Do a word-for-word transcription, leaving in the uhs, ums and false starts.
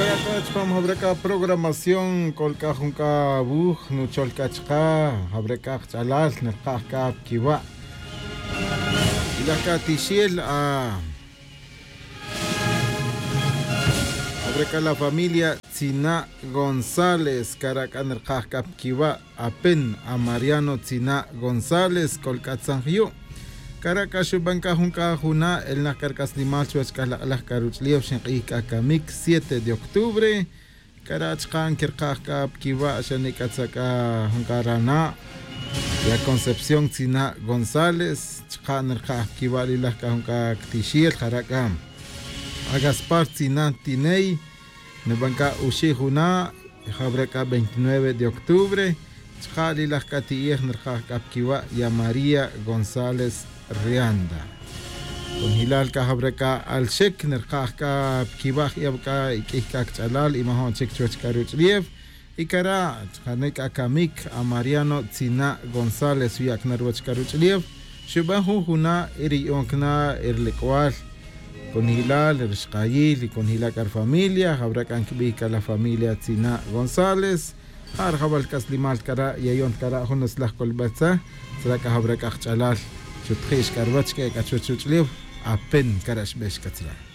Chupam jawre' c'a programación c'ol c'a jun c'a wuj nuchol c'a chaka jawre' c'a kach'alal nirkaj c'a pa quiwa'. Ilaj c'a tixel a jawre' c'a la familia tzina' gonzález cara' c'a nirkaj c'a pa quiwa'. Apen a mariano tzina' gonzález c'ol c'a tzanjyu'. Cara' c'a xuban c'a jun c'a juna' elnak c'a ri c'aslimal chuwech c'a lak'laj c'a ruch'ulef xink'ij c'a camic siete de octubre. Cara' chaka' nquirkaj c'a pa quiwa' xane' c'a tzak'a jun c'a rana' ya concepción tzina' gonzález chaka' nirkaj pa quiwa' lilaj c'a jun c'a ctixel jara' c'a a gaspar tzina' tiney. Niban c'a uxi' juna' jawre' c'a veintinueve de octubre. Chaka' lilaj c'a ti'ej nirkaj c'a pa quiwa' ya maría gonzález rianda. Conjilal c'a jawre' c'a alxic nirkaj c'a pa quiwa' je'ew c'a iq'uij c'a cach'alal y majo'n chic chuwech c'a ruch'ulef. Y cara' chkane' c'a camic a mariano tzina' gonzález xuyac na ruwech c'a ruch'ulef. Xuban jun juna' y ri yu'on cana' y ri lec'wal conjilal ri xkayil y conjilal c'a ri familia jawre' c'a nquibij c'a la familia tzina' gonzález. Ja' rajawal c'aslimal cara' yayon ta cara' jun utzlaj colbal tzaj. Tzra' c'a jawre' c'a kach'alal xutji' xc'a ruwech c'a ec'a chuwech ruch'ulef. Apen cara' xbex c'a tzra'.